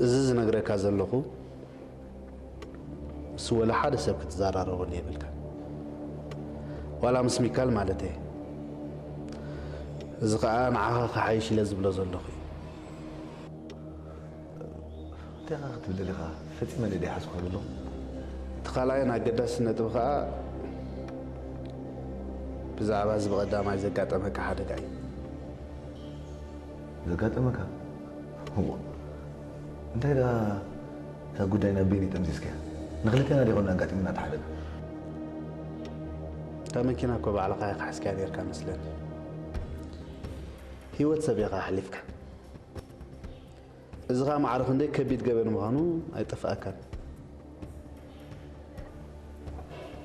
እዚ ዝነግረካ ዘለኹ ምስ ወላ ሓደ ሰብ ክትዘራረበሉ የብልካ፣ ዋላ ምስ ሚካል ማለት እየ። እዚ ኸኣ ንዓኻ ክሓይሽ ኢለ ዝብሎ ዘለኹ እዩ። እንታይ ኢኻ ክትብል ደሊኻ? ፈጺመ ደደ ሓዝኮ ኣለኹ። እቲ ካልኣይን ኣገዳሲ ነጥቢ ኸኣ ብዛዕባ እዚ ብቐዳማይ ዘጋጠመካ ሓደጋ እዩ። ዘጋጠመካ? እዎ። እንታይ ደኣ እታ ጉዳይ ናብ በይነይ ጠምዚዝካያ? ንኽልቴና ዶ ይኾን ኣጋጢሙና እቲ ሓደጋ? እታ መኪና እኮ ባዕልኻ ኢኻ ሓዝካያ ነርካ መስለኒ። ህይወት ሰብ ኢኻ ኣሕሊፍካ። እዚ ኸኣ ማዕረ ክንደይ ከቢድ ገበን ምዃኑ ኣይጠፍኣካን።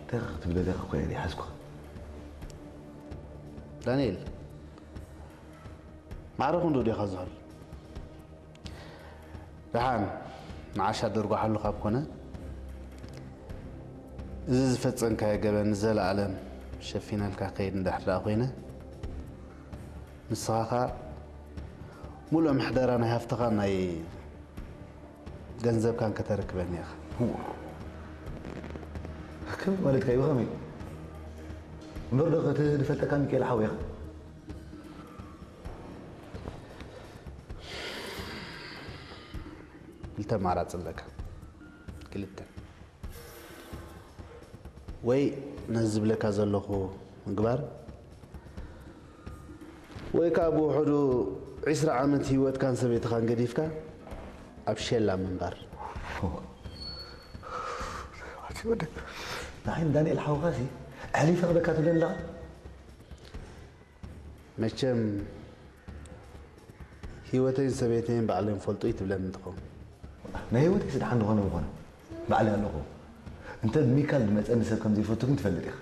እንታይ ኢኻ ክትብል ደሊኻ እኮ እየ ዘይሓዝኩኻ። ዳንኤል፣ ማዕረ ክንዱ ዲኻ ዝኸል? ደሓን ንዓሻ ደርጓሓሉ ካብ ኮነ፣ እዚ ዝፈጸምካዮ ገበን ንዘለኣለም ሸፊነልካ ከይድ እንድሕር ደኣ ኮይነ፣ ንስኻ ኸኣ ሙሉእ ምሕደራ ናይ ሃፍትኻን ናይ ገንዘብካን ከተረክበኒ ኢኻ። ከመይ ማለትካ እዩ? ብኸመይ? እምበር ዶ እቲ ዝፈልጠካ ሚካኤል ሓወይ ኢኻ? ክልተ ኣማራጺ ኣለካ። ክልተ። ወይ ነዚ ዝብለካ ዘለኹ ምግባር፣ ወይ ከኣ ብውሕዱ ዒስራ ዓመት ህይወትካን ሰበይትኻን ገዲፍካ ኣብ ሸላ ምንባር። ኣቲ ወደ ንዓይ ንዳንኤል ሓውኻሲ ኣሕሊፈ ክበካ ትብለኒ ኣለኻ? መቸም ህይወተይን ሰበይተይን ባዕሎም ይፈልጡ እዩ ትብለኒ እንትኸውን። ናይ ህይወተይስ ደሓን ዝኾነ ምኾነ ባዕለይ ኣለኹ። እንተ ብሚካል ዝመጸኒ ሰብ ከም ዘይፈቱ ግን ትፈልጥ ኢኻ።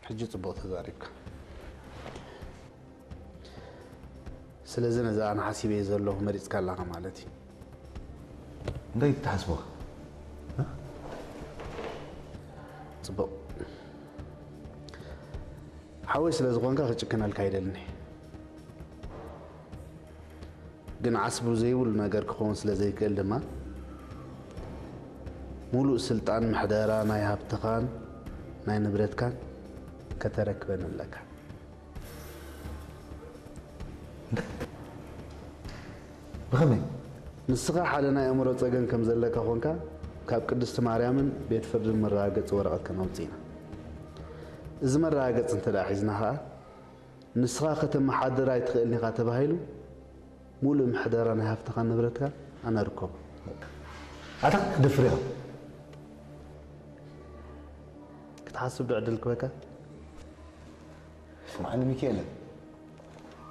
ሕጂ ጽቡቕ ተዛሪብካ። ስለዚ ነዚ ኣነ ሓሲበዮ ዘለኹ መሪጽካ ኣለኻ ማለት እዩ። እንታይ ትሓስቦ? ጽቡቕ። ሓወይ ስለ ዝኾንካ ክጭክነልካ ኣይደልን እየ። ግን ዓስቡ ዘይብሉ ነገር ክኸውን ስለ ዘይክእል ድማ፣ ሙሉእ ስልጣን ምሕደራ ናይ ሃብትኻን ናይ ንብረትካን ከተረክበን ኣለካ። ብኸመይ? ንስኻ ሓደ ናይ ኣእምሮ ጸገም ከም ዘለካ ኾንካ ካብ ቅድስቲ ማርያምን ቤት ፍርድን መረጋገጺ ወረቐት ከነውጽእ ኢና። እዚ መረጋገጺ እንተ ደኣ ሒዝና ኸኣ፣ ንስኻ ከተመሓድር ኣይትኽእልን ኢኻ ተባሂሉ፣ ሙሉእ ምሕደራ ናይ ሃፍትኻን ንብረትካን ኣነ ርከቦ። ኣታ ክትደፍር ኢኻ። ክትሓስብ ዶ ዕድል ክበካ? ስምዓኒ ሚካኤለ፣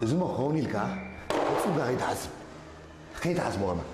እዚ እሞ ክኸውን ኢልካ ፈጺምካ ከይትሓስብ፣ ከይትሓስቦ ከማን።